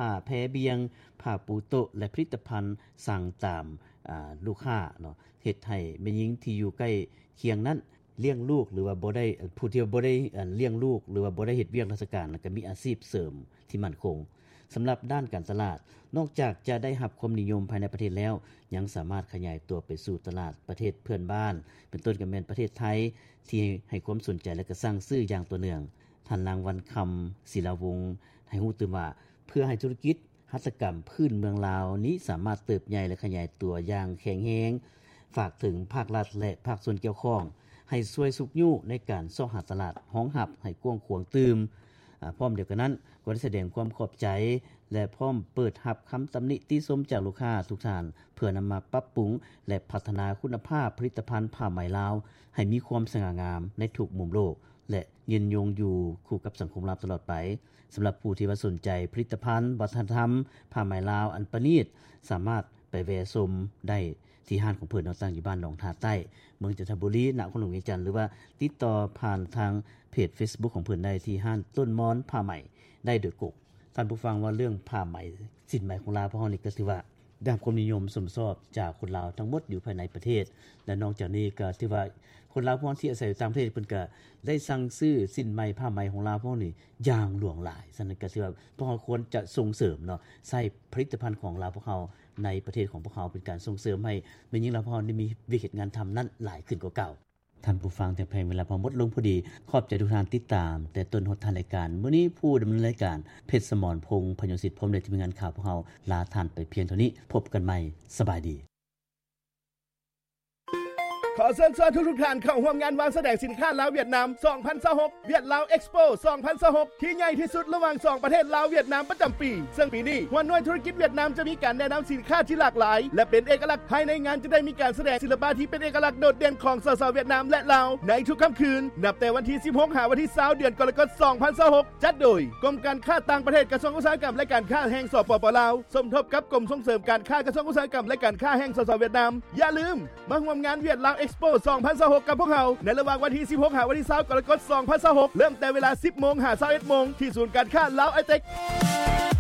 ຜ້າແພບ່ຽງ, ຜ້າປູໂຕະ ແລະ ຜະລິດຕະພັນສັ່ງຕາມ ອາ ລູກຄ້າເນາະ, ເຮັດໃຫ້ແມ່ຍິງທີ່ຢູ່ໃກ້ຄຽງນັ້ນລ້ຽງລູກ ຫຼືວ່າບໍ່ໄດ້ ຜູ້ທີ່ບໍ່ໄດ້ ອາ ລ້ຽງລູກ ຫຼືວ່າບໍ່ໄດ້ເຮັດວຽກລາຊະການ ແລ້ວກໍມີອາຊີບເສີມທີ່ໝັ້ນຄົງ. ສຳລັບດ້ານການຕະຫຼາດ, ນອກຈາກຈະໄດ້ຮັບຄວາມນິຍົມພາຍໃນປະເທດແລ້ວ, ຍັງສາມາດຂະຫຍາຍຕົວໄປສູ່ຕະຫຼາດປະເທດເພື່ອນບ້ານ, ເປັນຕົ້ນກໍແມ່ນປະເທດໄທ ທີ່ໃຫ້ຄວາມສົນໃຈ ແລະ ກໍສັ່ງຊື້ຢ່າງຕໍ່ເນື່ອງ. ທ່ານນາງ ວັນຄຳ ສີລາວົງ ໃຫ້ຮູ້ຕື່ມວ່າ ເພື່ອໃຫ້ທຸລະກິດຫັດຖະກຳພື້ນເມືອງລາວນີ້ສາມາດເຕີບໃຫຍ່ ແລະ ຂະຫຍາຍຕົວຢ່າງແຂງແຮງ, ຝາກເຖິງພາກລັດ ແລະ ພາກສ່ວນກ່ຽວຂ້ອງ ໃຫ້ຊ່ວຍຊຸກຍູ້ໃນການຊອກຫາຕະຫຼາດຮອງຮັບໃຫ້ກວ້າງຂວາງຕື່ມ. ອາ ພ້ອມດຽວກັນນັ້ນ ກໍໄດ້ສະແດງຄວາມຂອບໃຈ ແລະ ພ້ອມເປີດຮັບຄຳຕຳໜິຕິຊົມຈາກລູກຄ້າທຸກທ່ານ ເພື່ອນຳມາປັບປຸງ ແລະ ພັດທະນາຄຸນນະພາບຜະລິດຕະພັນຜ້າໄໝລາວ ໃຫ້ມີຄວາມສະຫງ່າງາມໃນທຸກມຸມໂລກ ແລະ ຍືນຍົງຢູ່ຄູ່ກັບສັງຄົມລາວຕະຫຼອດໄປ. ສຳລັບຜູ້ທີ່ວ່າສົນໃຈຜະລິດຕະພັນວັດທະນະທຳຜ້າໄໝລາວອັນປະນີດ ສາມາດໄປແວ່ຊົມໄດ້ທີ່ຮ້ານຂອງເພິ່ນເນາະ, ຕັ້ງຢູ່ບ້ານໜອງທ່າໃຕ້ ເມືອງຈັນທະບູລີ ນະຄອນຫຼວງວຽງຈັນ ຫຼືວ່າຕິດຕໍ່ຜ່ານທາງເພຈເຟສບຸກຂອງເພິ່ນໄດ້ທີ່ຮ້ານຕົ້ນມອນຜ້າໄໝໄດ້ໂດຍກົງ. ທ່ານຜູ້ຟັງ ວ່າເລື່ອງຜ້າໄໝ ສິ້ນໄໝຂອງລາວພວກເຮົານີ້ກໍຖືວ່າໄດ້ຮັບຄວາມນິຍົມຊົມຊອບຈາກຄົນລາວທັງໝົດຢູ່ພາຍໃນປະເທດ ແລະ ນອກຈາກນີ້ກໍຖືວ່າຄົນລາວພວກທີ່ອາໄສຢູ່ຕ່າງປະເທດ ເພິ່ນກໍໄດ້ສັ່ງຊື້ສິ້ນໄໝຜ້າໄໝຂອງລາວພວກນີ້ຢ່າງຫຼວງຫຼາຍ. ສະນັ້ນກໍຖືວ່າພວກເຮົາຄວນຈະສົ່ງເສີມເນາະ ໃຊ້ຜະລິດຕະພັນຂອງລາວພວກເຮົາໃນປະເທດຂອງພວກເຮົາ ເປັນການສົ່ງເສີມໃຫ້ແມ່ຍິງລາວພວກເຮົາໄດ້ມີວຽກເຮັດງານທຳນັ້ນຫຼາຍຂຶ້ນກວ່າເກົ່າ. ທ່ານຜູ້ຟັງທີ່ຮັກແພງ, ເວລາພວກເຮົາໝົດລົງພໍດີ. ຂອບໃຈທຸກທ່ານຕິດຕາມແຕ່ຕົ້ນຮອດທ້າຍລາຍການ. ມື້ນີ້ຜູ້ດຳເນີນລາຍການ ເພັດສະໝອນພົງ ພະຍງສິດ ພ້ອມດ້ວຍທີມງານຂ່າວພວກເຮົາ ລາທ່ານໄປພຽງເທົ່ານີ້. ພົບກັນໃໝ່. ສະບາຍດີ. ຂໍເຊີນຊວນທຸກໆທ່ານເຂົ້າຮ່ວມງານວາງສະແດງສິນຄ້າລາວ-ຫວຽດນາມ ສອງພັນຊາວຫົກ ຫວຽດລາວເອັກສະໂປ ສອງພັນຊາວຫົກ ທີ່ໃຫຍ່ທີ່ສຸດລະຫວ່າງສອງປະເທດລາວ-ຫວຽດນາມປະຈຳປີ ເຊິ່ງປີນີ້ ຫົວໜ່ວຍທຸລະກິດຫວຽດນາມຈະມີການແນະນຳສິນຄ້າທີ່ຫຼາກຫຼາຍ ແລະ ເປັນເອກະລັກ. ພາຍໃນງານຈະໄດ້ມີການສະແດງສິລະປະທີ່ເປັນເອກະລັກໂດດເດັ່ນຂອງສາວໆຫວຽດນາມ ແລະ ລາວ ໃນທຸກຄ່ຳຄືນ ນັບແຕ່ວັນທີສິບຫົກ ຫາວັນທີຊາວ ເດືອນກໍລະກົດ ສອງພັນຊາວຫົກ ຈັດໂດຍ ກົມການຄ້າຕ່າງປະເທດ ກະຊວງອຸດສາຫະກຳ ແລະ ການຄ້າແຫ່ງ ສປປ ລາວ ສົມທົບກັບກົມສົ່ງເສີມການຄ້າ ກະຊວງອຸດສາຫະກຳ ແລະ ການຄ້າແຫ່ງ ສສ ຫວຽດນາມ. ຢ່າລືມ ມາຮ່ວມງານຫວຽດລາວເອັກສະໂປ ສອງພັນຊາວຫົກ ກັບພວກເຮົາ ໃນລະຫວ່າງວັນທີສິບຫົກ ຫາວັນທີຊາວ ກໍລະກົດ ສອງພັນຊາວຫົກ ເລີ່ມແຕ່ເວລາ ສິບໂມງ ຫາ ຊາວເອັດໂມງ ທີ່ສູນການຄ້າລາວໄອເຕັກ.